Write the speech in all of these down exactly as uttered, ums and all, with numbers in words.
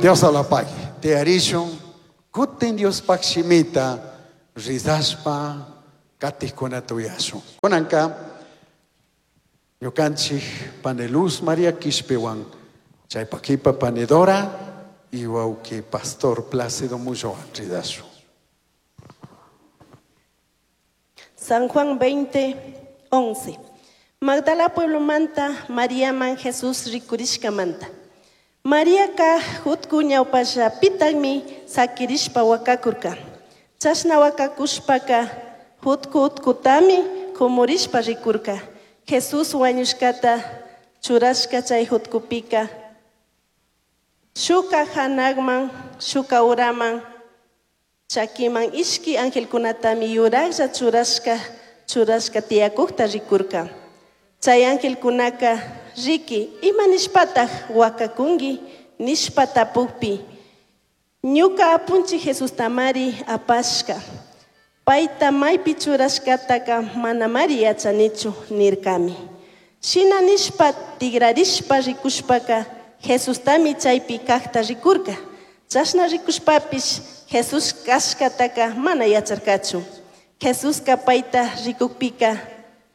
Dios la pague. Tiyarishun kutin Diospaj shimita rizashpa katijkunata uyashun. Kunanka ñukanchik pani Luz María Quishpiwan chaypakipa pani Dora y wawki Pastor Plácido Mullowan rizashun. San Juan veinte, once. Magdala pueblo manta, María man Jesús rikurishka manta. María ka jutku ñawpasha pitagmi sakirishpa wakakurka. Chashna wakakushpaka jutku utkutami kumurishpa rikurka. Jesús wañushkata churashka chay jutkupika. Shuka hanagman, shuka uraman, chakiman ishki angelkunatami yuraglla churashka, churashka tiyakukta rikurka. Chay angelkunaka riki ima nishpataj wakakunki nishpa tapukpi. Ñuka apunchi Jesús tamari apashka. Paita maypi churashkataka manamari yachanichu nirkami. Shina nishpa tigrarishpa rikushpaka Jesustami chaypi kajta rikurka. Chashna rikushpapish Jesús kashkataka mana yacharkachu. Jesuska paita rikukpika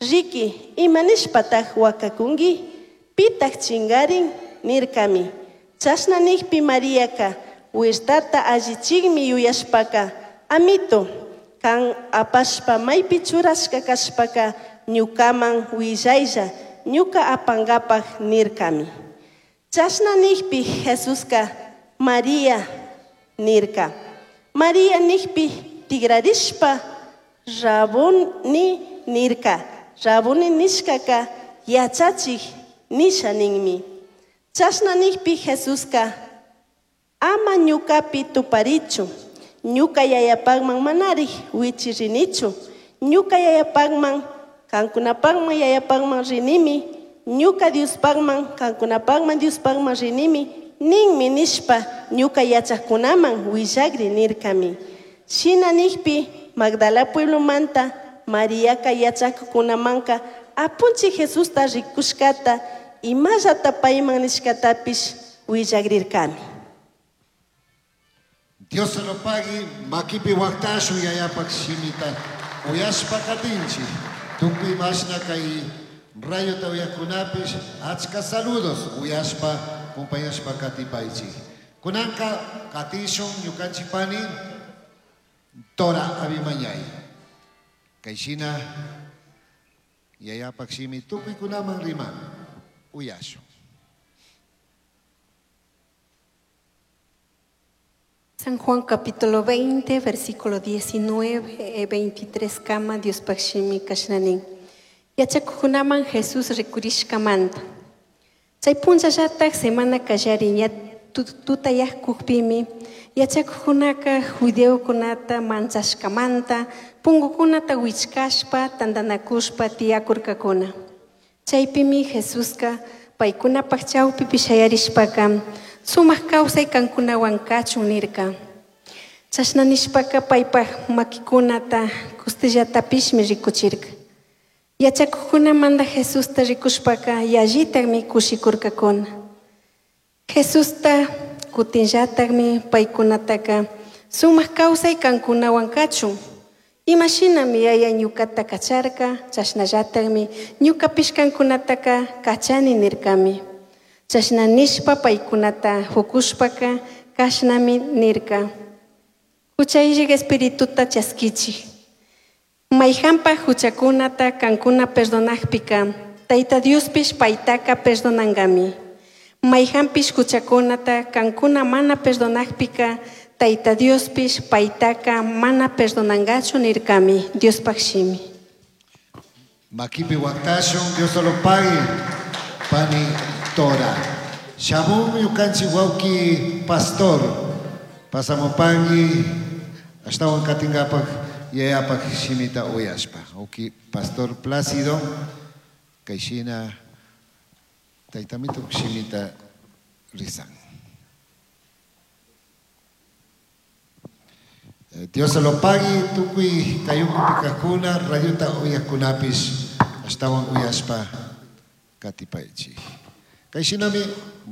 riki ima nishpataj wakakunki pitaj chingarin nirkami. Chashna nikpi Mariaka huertata allichikmi yuyashpaka amito kan apashpa maypi churashka kashpaka ñukaman willaylla ñuka apangapaj nirkami. Chashna nikpi Jesuska María nirka. María nikpi tigrarishpa Rabuni nirka. Rabuni nishkaka yachachik nisha ninmi. Chashna nikpi Jesuska ama ñukapi tuparichu. Ñuka yayapagman manari wichirinichu. Ñuka yayapagman kankunapagman yayapagman rinimi. Ñuka Diospagman kankunapagman Diospagman rinimi. Ninmi nishpa ñuka yachaqkunaman willagri nirkami. Shina nikpi Magdala pueblo manta Mariaka yachaqkunamanka apunchi Jesusta rikushkata imallata payman nishkatapish willagrirkami. Dios se lo pague, makipi waktashu yayapak shimita uyashpa katinchi. Tukuy mashna kay rayota uyakunapish achka saludos uyashpa kumpayashpa katipaychi. Kunanka katishun ñukanchik pani Dora Abimañay. Kayshina yayapak shimi tukuykunaman riman uyashun. San Juan capítulo veinte, versículo diecinueve, veintitrés, kama Dios pakshimi kashnanin. Yachakukunaman Jesús rikurishkamanta. Chay punchallataj semana kallari ña tutayajkukpimi yachakukunaka judeokunata manchashkamanta punkukunata wichkashpa tantanakushpa tiyakurkakuna. Chaypimi Jesuska paykunapaj chawpipi shayarishpaka sumaq kawsay kankunawan kachun nirka. Chashna nishpaka paypaj makikunata kustillatapishmi rikuchirka. Yachakuqkunamanta Jesusta rikushpaka yallitakmi kushikurkakuna. Jesusta kutinllatakmi paykunataka sumaq kawsay kankunawan kachun. Imashinami yaya ñukata kacharka, chashnallatakmi ñukapish kankunataka kachani nirkami. Chashna nishpa paykunata hukushpaka kashnami nirka. Huchayllak espirituta chaskichik. Mayhanpaj huchakunata kankuna perdonajpika, Tayta Diospish paytaka perdonankami. Mayhanpish huchakunata kankuna mana perdonajpika, Tayta Diospish paytaka mana perdonankachu nirkami. Diospaj shimi. Makipi waktashun, Dios lo pague, pani Tora. Shamun ñukanchik wawki pastor, pasamupanki, ashtawan katinkapak yayapak shimita uyashpa. Wawki pastor Plácido, kayshina taytamitu shimita rizan. Dios se lo pague, tukuy kayukupi kajkuna, radiota uyajkunapish, ashtawan uyashpa katipaychik. Kay shinami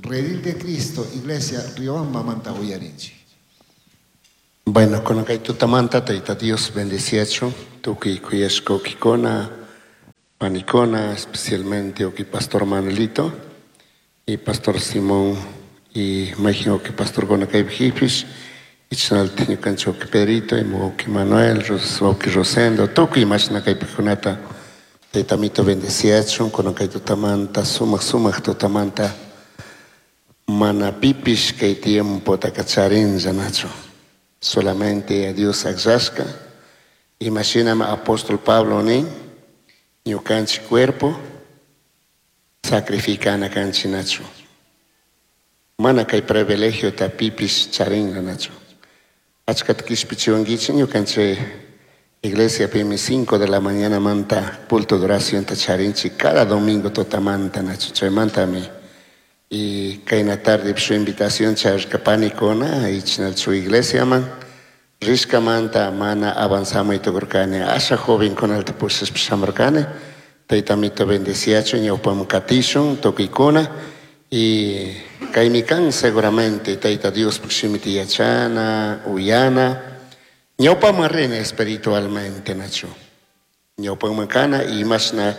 Redil de Cristo Iglesia Riobambamanta uyarinchik. Bueno, con kay tutamanta Tayta Dios bendeciachu, tukuy kuyashka wawkikuna, panikuna, especialmente wawki Pastor Manuelito y Pastor Simón y mayqin wawki pastorkuna kaypi hipish, y chashnalatik ñukanchik wawki Pedrito y wawki Manuel, wawki Rosendo, tukuy mashna kaypikunata Tayta Amito bendeciachun, kunan kay tutamanta, sumak sumak tutamanta, mana pipish kay tiempotaka charinlla nachu. Solamente a Dios akllashka. Imashinami apóstol Pablo nin, ñukanchik cuerpo sacrificana kanchik nachu. Mana kay privilegiota pipish charinlla nachu. Achkata kishpichiwankichik ñukanchik iglesia pimi cinco de la mañana manta culto de oración ta charinchik cada domingo tutamanta nachu. Chaymantami y kayna tarde su invitación charka panikuna y chinal su iglesia man rishkamanta mana avanzamos y tukurkani asha joven con alta pusas pishamurkani Tayta Amito bendeciachu ñawpaman katishun tukuykuna y kaymi kan seguramente Tayta Dios shimita yachana uyana ñawpaman rina espiritualmente nachu ñawpaman kana y mashna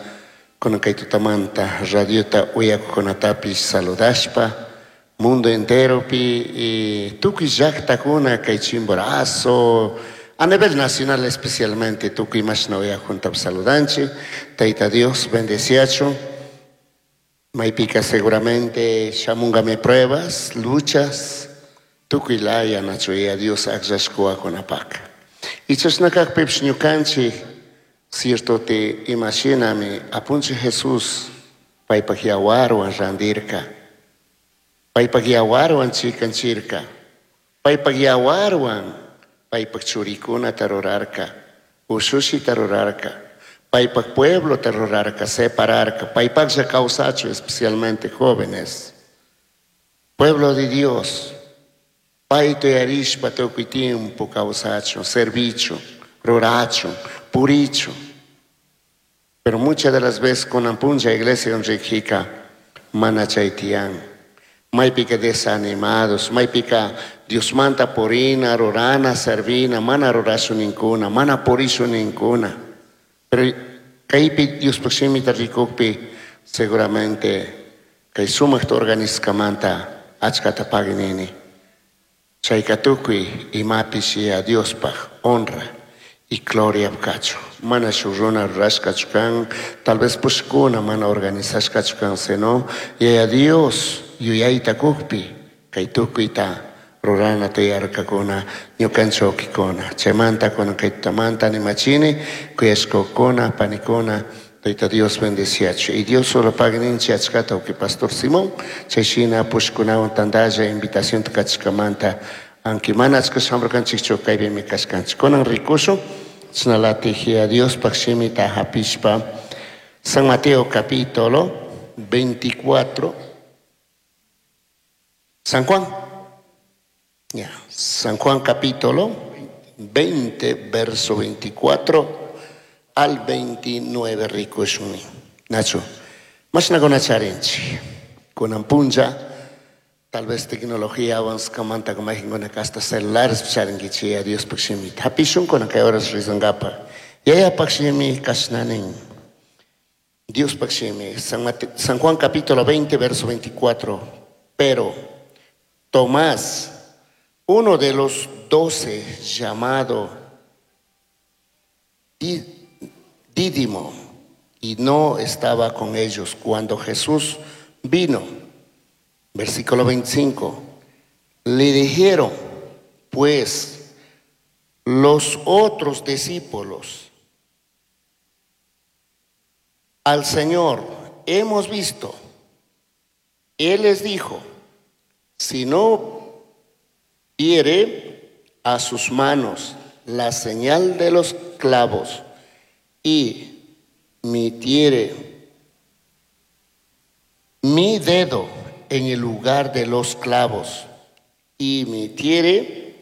kunan kay tutamanta radiota uyakuqkunatapish saludashpa mundo enteropi y tukuy llaqtakuna kay Chimborazo a nivel nacional especialmente tukuy mashna uyakuntapish saludanchik. Tayta Dios bendeciachu. Maypika seguramente shamunkami pruebas, luchas, tukuy laya nachu ya Dios akllashkuwakunapaq. Y chashna kaqpipish ñukanchik cierto te imashinami apunchik Jesús paypak yawarwan randirka, paypak yawarwan chikanchirka, paypak yawarwan paypak churikunata rurarka, ushushita rurarka, paypak pueblota rurarka, separarka, paypaklla kawsachu especialmente jóvenes. Pueblo de Dios, payta uyarishpa tukuy tiempo kawsachu, servichu, rurachu, purichu. Pero muchas de las veces con puncha iglesia riqhika mana chay tiyan. Maypika desanimados, maypika Diosmanta purina, rurana, servina, mana rurashu ninkuna, mana purishu ninkuna. Pero kaypi Diospaq shimita rikukpi seguramente kay sumakta organizkamanta achkata paginini. Chayka tukuy imapish ya Diospaq honra y gloria kachu. Mana shuk runa rurashkachu kan, tal vez pushkuna mana organizashkachu kan, sino Yaya Dios yuyayta kukpi kay tukuyta rurana tuyarkakuna ñukanchik wawkikuna. Chaymanta kunan kay tutamanta animachini kuyashkakuna panikuna Tayta Dios bendeciachu. Y Dios solo pagninchi achkata wawki Pastor Simón chayshina pushkunawan tantalla invitación kachkamanta aunque mana achka shamurkanchikchu kaypimi kashkanchik. Kunan rikushun chashnalatik ya Diospaq shimita hapishpa San Mateo capítulo veinticuatro. San Juan. Ya, San Juan capítulo veinte, verso veinticuatro al veintinueve, rikushuni. Nacho, mashna kunacharinchi. Kunan punlla, tal vez tecnología avanzkamanta kumajinkuna hasta celulares charinkichi ya Diospaq shimita. Hapishun kunan kay horas rizangapa. Yayapaq shimi kashnanin. Diospaq shimi. San Mate-, San Juan capítulo veinte, verso veinticuatro. Pero Tomás, uno de los doce, llamado Dídimo, y no estaba con ellos cuando Jesús vino. Versículo veinticinco. Le dijeron, pues, los otros discípulos, al Señor hemos visto. Él les dijo, si no viere a sus manos la señal de los clavos y metiere mi dedo en el lugar de los clavos y metiere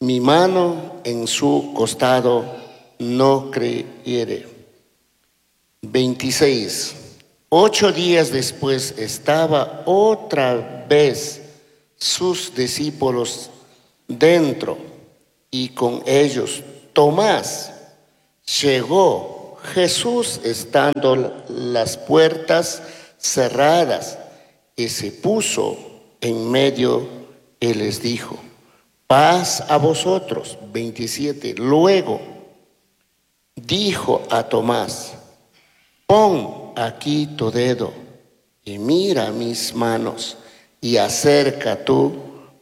mi mano en su costado, no creyere. veintiséis. Ocho días después estaba otra vez sus discípulos dentro y con ellos Tomás. Llegó Jesús estando las puertas cerradas y se puso en medio y les dijo: paz a vosotros. veintisiete. Luego dijo a Tomás: pon aquí tu dedo y mira mis manos, y acerca tu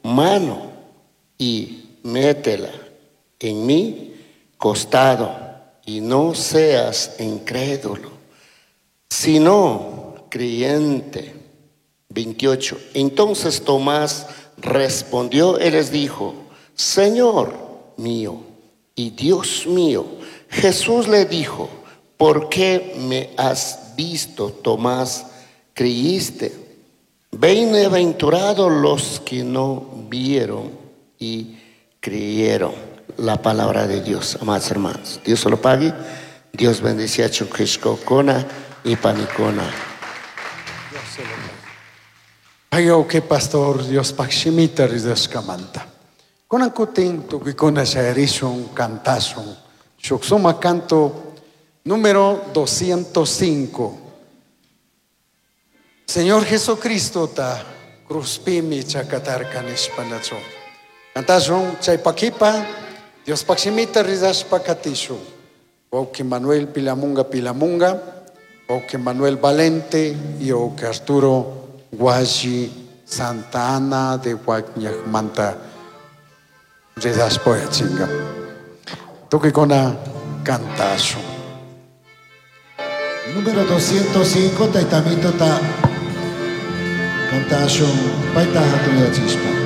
mano y métela en mi costado, y no seas incrédulo, sino creyente. veintiocho. Entonces Tomás respondió y les dijo: Señor mío y Dios mío. Jesús le dijo: ¿por qué me has visto, Tomás? Creíste. Bienaventurados los que no vieron y creyeron. La palabra de Dios, amados hermanos. Dios se lo pague. Dios bendice a Chuquishcocona y Panicona. Dios se lo pague. Ay, que pastor, Dios pakshimita rizashkamanta. Konankutin tukikuna shayarishun cantashun. Shuksuma canto número doscientos cinco. Señor Jesucristo ta cruzpimi chakatarka nishpanachu. Cantashun chaypakipa, Dios pakshimita rizashpa katishun. Wauki Manuel Pilamunga Pilamunga, Wauki Manuel Valente y Wauki Arturo Guayi Santa Ana de Guañajmanta rizashpa chinga. Tukikuna cantashun. Número doscientos cinco, Taitamito ta cantashun, paita hatuya chispa.